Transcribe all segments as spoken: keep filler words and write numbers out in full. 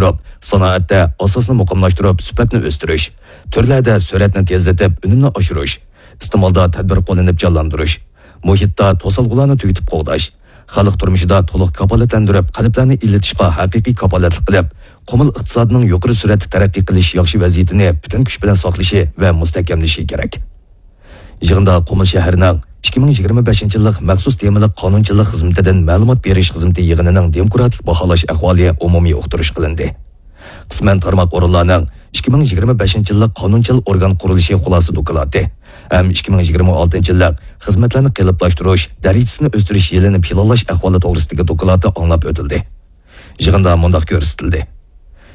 تۇرۇپ، سانائەتتە ئاساسنى مۇقىملاشتۇرۇپ، سۈپەتنى ئۆستۈرۈش، تۈرلەردە سۈرئەتنى تېزلىتىپ، ئۈنۈمنى ئاشۇرۇش، ئىستېمالدا تەدبىر قوللىنىپ جانلاندۇرۇش، مۇھىتتا توسالغۇلارنى تۈگىتىپ قوغداش، خەلق تۇرمۇشىدا تولۇق كاپالەتلەندۈرۈپ، قەلبلەرنى ئىللىتىشقا ھەقىقىي كاپالەتلىك قىلىپ، قۇمۇل ئىقتىسادىنىڭ يۇقىرى سۈرئەتتە تەرەققىي قىلىش ياخشى ۋەزىيىتىنى پۈتۈن كۈچ بىلەن ساقلىشى ۋە مۇستەھكەملىشى كېرەك. يىغىندا قۇمۇل شەھىرىنىڭ ئىككى مىڭ يىگىرمە بەشىنچى يىللىق مەخسۇس تېمىلىق قانۇنچىلىق خىزمىتىدىن مەلۇمات بېرىش خىزمىتى يىغىنىنىڭ دېموكراتىك باھالاش ئەھۋالى ئومۇمىي ئۇقتۇرۇش قىلىندى. قىسمەن تارماق ئورۇنلارنىڭ ئىككى مىڭ يىگىرمە بەشىنچى يىللىق قانۇنچىل ئورگان قۇرۇلۇشى خۇلاسە دوكلاتى ھەم ئىككى مىڭ يىگىرمە ئالتىنچى يىللىق خىزمەتلەرنى قېلىپلاشتۇرۇش، دەرىجىسىنى ئۆستۈرۈش يىلىنى پىلانلاش ئەھۋالى توغرىسىدىكى دوكلاتى ئاڭلاپ ئۆتۈلدى. يىغىندا مۇنداق كۆرسىتىلدى: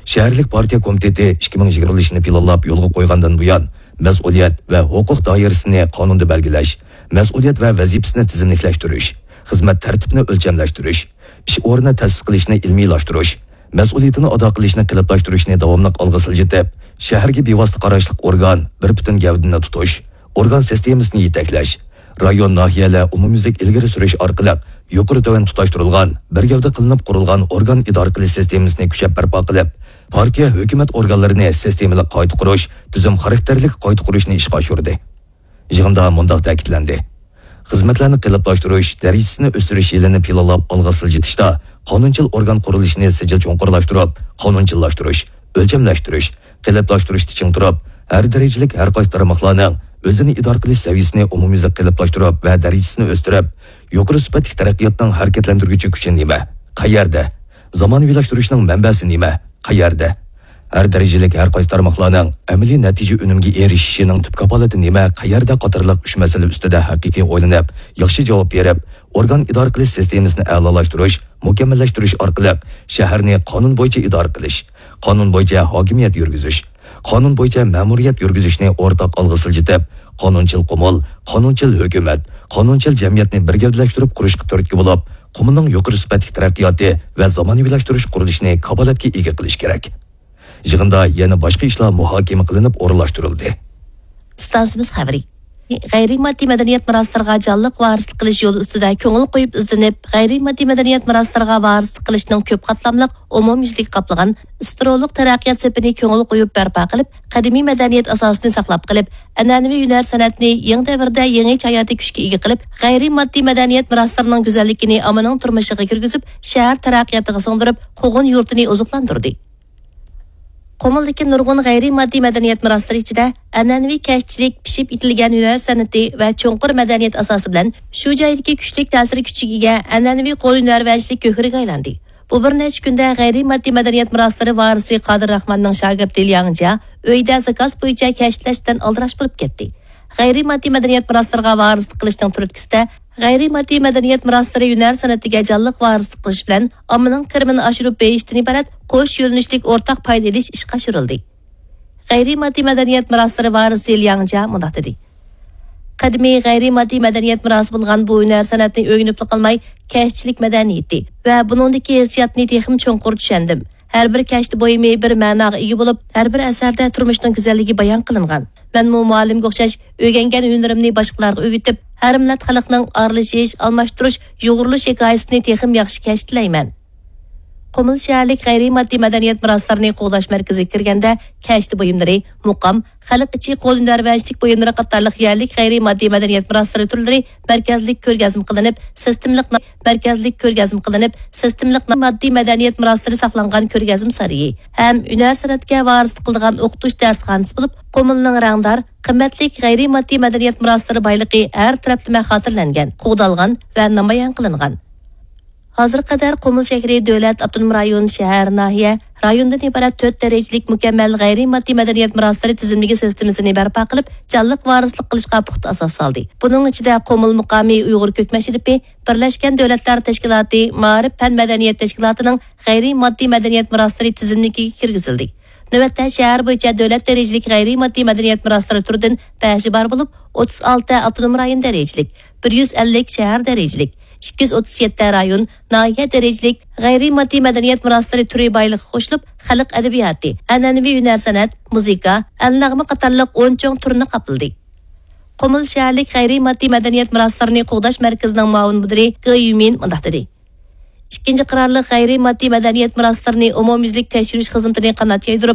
شەھەرلىك پارتىيە كومىتېتى ئىككى مىڭ يىگىرمە يىللىشىنى پىلانلاپ يولغا قويغاندىن بۇيان، مەسئۇلىيەت ۋە ھوقۇق دائىرىسىنى قانۇندا بەلگىلەش، مەسئۇلىيەت ۋە ۋەزىپىسىنى تىزىملىكلەشتۈرۈش، خىزمەت تەرتىپىنى ئۆلچەملەشتۈرۈش، ئىش ئورنى تەسىس قىلىشنى ئىلمىيلاشتۇرۇش، مەسئۇلىيىتىنى ئادا قىلىشنى قېلىپلاشتۇرۇشنى داۋاملىق ئالغا سىلجىتىپ، شەھەرگە بىۋاسىتە قاراشلىق ئورگان، بىر پۈتۈن گەۋدىنى تۇتۇش، ئورگان سىستېمىسىنى يېتەكلەش، رايون، ناھىيەلەر ئومۇميۈزلۈك ئىلگىرى سۈرۈش ئارقىلىق يۇقىرى تۆۋەن تۇتاشتۇرۇلغان، بىر گەۋدە قىلىنىپ قۇرۇلغان ئورگان ئىدارە قىلىش سىستېمىسىنى كۈچەپ بەرپا قىلىپ، پارتىيە، ھۆكۈمەت ئورگانلىرىنى سىستېمىلىق قايتا قۇرۇش، تۈزۈم خاراكتېرلىك قايتا قۇرۇشنى ئىشقا ئاشۇردى. يىغىندا مۇنداق تەكىتلەندى: خىزمەتلەرنى قېلىپلاشتۇرۇش، دەرىجىسىنى ئۆستۈرۈش يىلىنى پىلانلاپ ئالغا سىلجىتىشتا قانۇنچىل ئورگان قۇرۇلۇشىنى سىجىل چوڭقۇرلاشتۇرۇپ، قانۇنچىللاشتۇرۇش، ئۆلچەملەشتۈرۈش، قېلىپلاشتۇرۇشتا چىڭ تۇرۇپ، ھەر دەرىجىلىك ھەر قايسى تارماقلارنىڭ ئۆزىنى ئىدارە قىلىش سەۋىيەسىنى ئومۇميۈزلۈك قېلىپلاشتۇرۇپ ۋە دەرىجىسىنى ئۆستۈرۈپ، يۇقىرى سۈپەتلىك تەرەققىياتنىڭ ھەرىكەتلەندۈرگۈچى كۈچى نېمە، قەيەردە، زامانىۋىلاشتۇرۇشنىڭ مەنبەسى نېمە، قەيەردە؟ ھەر دەرىجىلىك ھەر قايسى تارماقلارنىڭ ئەمەلىي نەتىجە ئۈنۈمگە ئېرىشىشىنىڭ تۈپ كاپالىتى نېمە، قەيەردە قاتارلىق ئۈچ مەسىلە ئۈستىدە ھەقىقىي ئويلىنىپ، ياخشى جاۋاب بېرىپ، ئورگان ئىدارە قىلىش سىستېمىسىنى ئەلالاشتۇرۇش، مۇكەممەللەشتۈرۈش ئارقىلىق شەھەرنى قانۇن بويىچە ئىدارە قىلىش، قانۇن بويىچە ھاكىمىيەت يۈرگۈزۈش، قانۇن بويىچە مەمۇرىيەت يۈرگۈزۈشنى ئورتاق ئالغا سىلجىتىپ، قانۇنچىل قۇمۇل، قانۇنچىل ھۆكۈمەت، قانۇنچىل جەمئىيەتنى بىر گەۋدىلەشتۈرۈپ قۇرۇشقا تۈرتكە بولۇپ، قۇمۇلنىڭ يۇقىرى سۈپەتلىك تەرەققىياتى ۋە زامانىۋىلاشتۇرۇش قۇرۇلۇشىنى كاپالەتكە ئىگە قىلىش كېرەك. يىغىندا يەنە باشقا ئىشلار مۇھاكىمە قىلىنىپ ئورۇنلاشتۇرۇلدى. ئىستانسىمىز خەۋىرى. غەيرىي ماددىي مەدەنىيەت مىراسلىرىغا جانلىق ۋارىسلىق قىلىش يولى ئۈستىدە كۆڭۈل قويۇپ ئىزدىنىپ، غەيرىي ماددىي مەدەنىيەت مىراسلىرىغا ۋارىسلىق قىلىشنىڭ كۆپ قاتلاملىق، ئومۇميۈزلۈك قاپلىغان ئىسترولۇق تەرەققىيات سېپىنى كۆڭۈل قويۇپ بەرپا قىلىپ، قەدىمىي مەدەنىيەت ئاساسىنى ساقلاپ قېلىپ، ئەنئەنىۋى ھۈنەر سەنئەتنى يېڭى دەۋردە يېڭىچە ھاياتىي كۈچكە ئىگە قىلىپ، غەيرىي ماددىي مەدەنىيەت مىراسلىرىنىڭ گۈزەللىكىنى ئاممىنىڭ تۇرمۇشىغا كىرگۈزۈپ، شەھەر تەرەققىياتىغا سىڭدۈرۈپ، قوغۇن يۇرتىنى ئوزۇقلاندۇردى. قۇمۇلدىكى نۇرغۇن غەيرىي ماددىي مەدەنىيەت مىراسلىرى ئىچىدە ئەنئەنىۋى كەشتىچىلىك، پىشىپ يېتىلگەن ھۈنەر سەنئىتى ۋە چوڭقۇر مەدەنىيەت ئاساسى بىلەن شۇ جايدىكى كۈچلۈك تەسىر كۈچىگە ئىگە ئەنئەنىۋى قول ھۈنەرۋەنچىلىك گۆھىرىگە ئايلاندى. بۇ بىر نەچچە كۈندە غەيرىي ماددىي مەدەنىيەت مىراسلىرى ۋارىسى قادىر راخماننىڭ شاگىرتى لياڭ جيا ئۆيدە زاكاز بويىچە كەشتىلەشتىن ئالدىراش بولۇپ كەتتى. غەيرىي ماددىي مەدەنىيەت مىراسلىرىغا ۋارىسلىق قىلىشنىڭ تۈرتكىسىدە، غەيرىي ماددىي مەدەنىيەت مىراسلىرى ھۈنەر سەنئىتىگە جانلىق ۋارىسلىق قىلىش بىلەن ئاممىنىڭ كىرىمىنى ئاشۇرۇپ بېرىشتىن ئىبارەت قوش يۆنىلىشلىك ئورتاق پايدا ئېلىش ئىشقا ئاشۇرۇلدى. غەيرىي ماددىي مەدەنىيەت مىراسلىرى ۋارىسى لياڭ جيا مۇنداق دېدى: قەدىمىي غەيرىي ماددىي مەدەنىيەت مىراسى بولغان بۇ ھۈنەر سەنئەتنى ئۆگىنىپلا قالماي، كەشتىچىلىك مەدەنىيىتى ۋە بۇنىڭدىكى ھېسسىياتنى تېخىمۇ چوڭقۇر چۈشەندىم. ھەر بىر كەشتە بۇيۇمى بىر مەناغا ئىگە بولۇپ، ھەر بىر ئەسەردە تۇرمۇشنىڭ گۈزەللىكى بايان قىلىنغان. مەنمۇ مۇئەللىمگە ئوخشاش ئۆگەنگەن ھۈنىرىمنى باشقىلارغا ئۆگىتىپ، ھەر مىللەت خەلقنىڭ ئارىلىشىش، ئالماشتۇرۇش، يۇغۇرۇلۇش ھېكايىسىنى تېخىمۇ ياخشى كەشتىلەيمەن. قۇمۇل شەھەرلىك غەيرىي ماددىي مەدەنىيەت مىراسلىرىنى قوغداش مەركىزىگە كىرگەندە، كەشتە بۇيۇملىرى، مۇقام، خەلق ئىچى قول ھۈنەرۋەنچىلىك بۇيۇملىرى قاتارلىق يەرلىك غەيرىي ماددىي مەدەنىيەت مىراسلىرى تۈرلىرى مەركەزلىك كۆرگەزمە قىلىنىپ، سىستېمىلىق، مەركەزلىك كۆرگەزمە قىلىنىپ، سىستېمىلىق ماددىي مەدەنىيەت مىراسلىرى ساقلانغان كۆرگەزمە سارىيى ھەم ھۈنەر سەنئەتكە ۋارىسلىق قىلىدىغان ئوقۇتۇش دەرسخانىسى بولۇپ، قۇمۇلنىڭ رەڭدار، قىممەتلىك غەيرىي ماددىي مەدەنىيەت مىراسلىرى بايلىقى ھەر تەرەپلىمە خاتىرىلەنگەن، قوغدالغان ۋە نامايان قىلىنغان. ھازىرغا قەدەر قۇمۇل شەھىرى دۆلەت، ئاپتونوم رايون، شەھەر، ناھىيە، رايوندىن ئىبارەت تۆت دەرىجىلىك مۇكەممەل غەيرىي ماددىي مەدەنىيەت مىراسلىرى تىزىملىكى سىستېمىسىنى بەرپا قىلىپ، جانلىق ۋارىسلىق قىلىشقا پۇختا ئاساس سالدى. بۇنىڭ ئىچىدە قۇمۇل مۇقامى ئۇيغۇر كۆك مەشرىپى، بىرلەشكەن دۆلەتلەر تەشكىلاتى مائارىپ پەن مەدەنىيەت تەشكىلاتىنىڭ غەيرىي ماددىي مەدەنىيەت مىراسلىرى تىزىملىكىگە كىرگۈزۈلدى. نۆۋەتتە شەھەر بويىچە دۆلەت دەرىجىلىك غەيرىي ماددىي مەدەنىيەت مىراسلىرى تۈرىدىن بەشى بار بولۇپ، ئوتتۇز ئالتە ئاپتونوم رايون دەرىجىلىك، بىر يۈز ئەللىك شەھەر دەرىجىلىك، ئىككى يۈز ئوتتۇز يەتتە رايون، ناھىيە دەرىجىلىك غەيرىي ماددىي مەدەنىيەت مىراسلىرى تۈرى بايلىقىغا قوشۇلۇپ، خەلق ئەدەبىياتى، ئەنئەنىۋى ھۈنەر سەنئەت، مۇزىكا، ئەلنەغمە قاتارلىق ئون چوڭ تۈرنى قاپلىدى. قۇمۇل شەھەرلىك غەيرىي ماددىي مەدەنىيەت مىراسلىرىنى قوغداش مەركىزىنىڭ مۇئاۋىن مۇدىرى گې يۈمىن مۇنداق دېدى: ئىككىنچى قارارلىق غەيرىي ماددىي مەدەنىيەت مىراسلىرىنى ئومۇميۈزلۈك تەكشۈرۈش خىزمىتىنى قانات يايدۇرۇپ،